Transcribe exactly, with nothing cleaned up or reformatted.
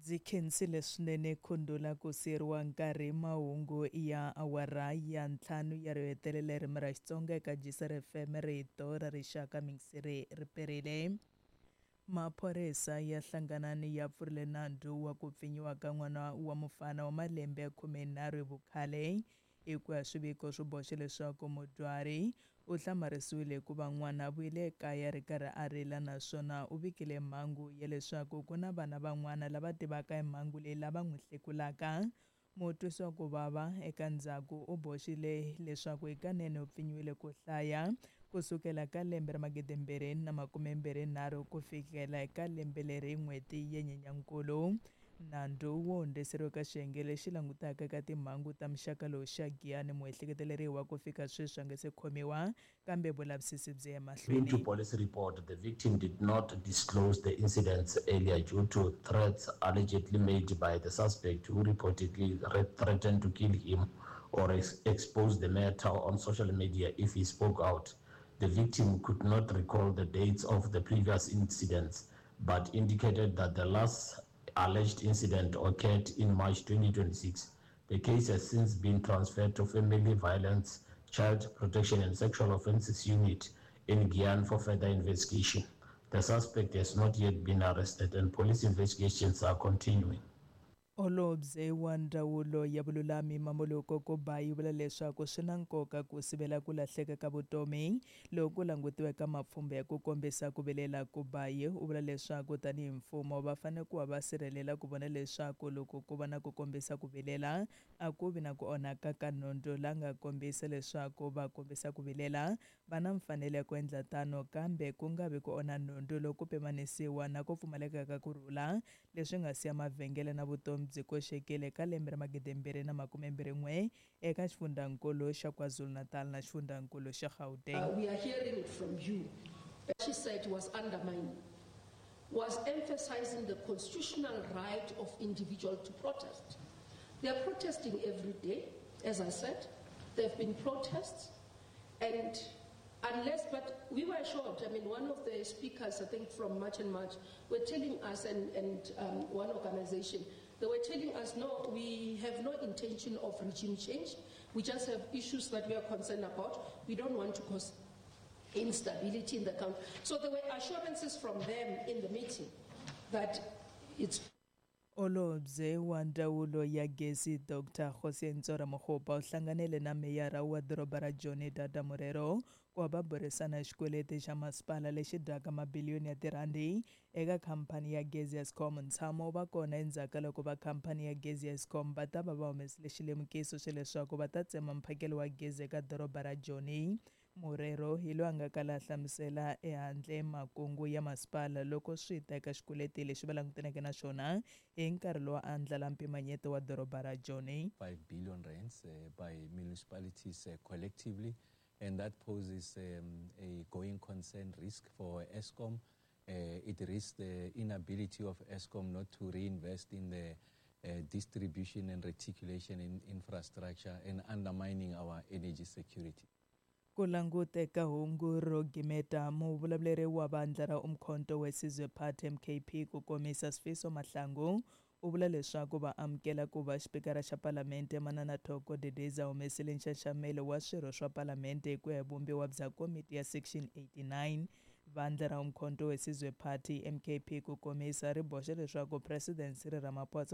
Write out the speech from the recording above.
Ndzi khensile swinene Khundula ku siyeriwa nkarhi. Mahungu ya awara ya ntlhanu ya ro hetelela ririmi ra Xitsonga eka G C R F M, rito ra rixaka. Mingiseri ri perile. Maphorisa ya Hlanganani ya pfurile nandzu wa ku pfinyiwa ka n'wana wa mufana wa malembe ya khumenharhu hi vukhale. Hi ku ya swiviko swi boxa leswaku mudyuhari u hlamarisiwile hikuva n'wana a vuyile ekaya a ri karhi a rila, naswona u vikile mhangu ya leswaku ku na vana van'wana lava tivaka hi mhangu leyi lava n'wi hlekulaka. Mutwisi wa ku vava eka ndzhaku u boxile leswaku hikanene u pfinyiwile ku hlaya kusukela ka lembe ra magidi mbirhi na makume mbirhi nharhu ku fikela eka lembe leri n'hweti ya Nyenyankulu. Nandzu wu hundziseriwe ka xiyenge lexi langutaka ka timhangu ta muxaka lowu xa Giyani. Muehleketeleriwa ku fika sweswi a nga se khomiwa, kambe vulavisisi byi ya According to mahlweni. Police report, the victim did not disclose the incidents earlier due to threats allegedly made by the suspect, who reportedly re- threatened to kill him or ex- expose the matter on social media if he spoke out. The victim could not recall the dates of the previous incidents, but indicated that the last alleged incident occurred in March twenty twenty-six. The case has since been transferred to Family Violence, Child Protection and Sexual Offences Unit in Giyani for further investigation. The suspect has not yet been arrested and police investigations are continuing. Holobye wa Ndzawulo ya Vululami Mmamoloko Kubayi vula leswaku swi na nkoka ku sivela ku lahleka ka vutomi loko ku langutiwe ka mapfhumba ya ku kombisa ku vilela. Kubayi u vula leswaku tanihi mfumo va fanele ku va va sirhelela ku vona leswaku loko ku va na ku kombisa ku vilela a ku vi na ku onhaka ka nhundzu, la nga kombisa leswaku va kombisa ku vilela va na mfanelo ya ku endla tano, kambe ku nga vi ku onha nhundzu loko ku pimanisiwa na ku pfumaleka ka kurhula leswi nga siya mavhengele na vutomi byi koxekile ka lembe ra magidi mbirhi na makume mbirhi n'we eka xifundzankulu xa KwaZulu-Natal na xifundzankulu xa Gauteng. Uh, we are hearing it from you. She said was undermining, was emphasizing the constitutional right of individual to protest. They are protesting every day, as I said. There have been protests, and unless, but we were shocked. I mean, one of the speakers, I think from March and March, were telling us, and, and um, one organization, they were telling us, "No, we have no intention of regime change. We just have issues that we are concerned about. We don't want to cause instability in the country." So there were assurances from them in the meeting that it's Holobye wa Ndzawulo ya Gezi Doctor Kgosientsho Ramokgopa u hlanganile na meyara wa doroba ra Joni Dada Morero ku va va burisana xikweleti xa masipala lexi dyaka mabiliyoni ya tirhandi eka khampani ya gezi ya Eskom. Ntshamo wu va kona endzhaku ka loko va khampani ya gezi ya Eskom va ta va va humesile xilemukiso xa leswaku va ta tsema mphakelo wa gezi eka doroba ra Joni. Morero hi loyi a nga kala a hlamusela ehandle makungu ya masipala loko swi ta eka xikweleti lexi va langutaneke na xona hi nkarhi lowu a andlala mpimanyeto wa doroba ra Joni. five billion rands uh, by municipalities uh, collectively, and that poses um, a going concern risk for Eskom. Uh, it risks the inability of Eskom not to reinvest in the uh, distribution and reticulation in infrastructure and undermining our energy security. Ku languteka hungu ro gimeta, muvulavuleri wa vandla ra Umkhonto weSizwe Party, M K P ku komisa, Sifiso Mahlangu u vula leswaku va amukela ku va xipikara xa Palamente Manana Thoko Didiza humesile nxaxamelo wa swirho swa Palamente hi ku ya hi vumbiwa bya komiti ya Section eighty-nine. Vandla ra Umkhonto weSizwe Party, M K P ku komisa, ri boxa leswaku President Cyril Ramaphosa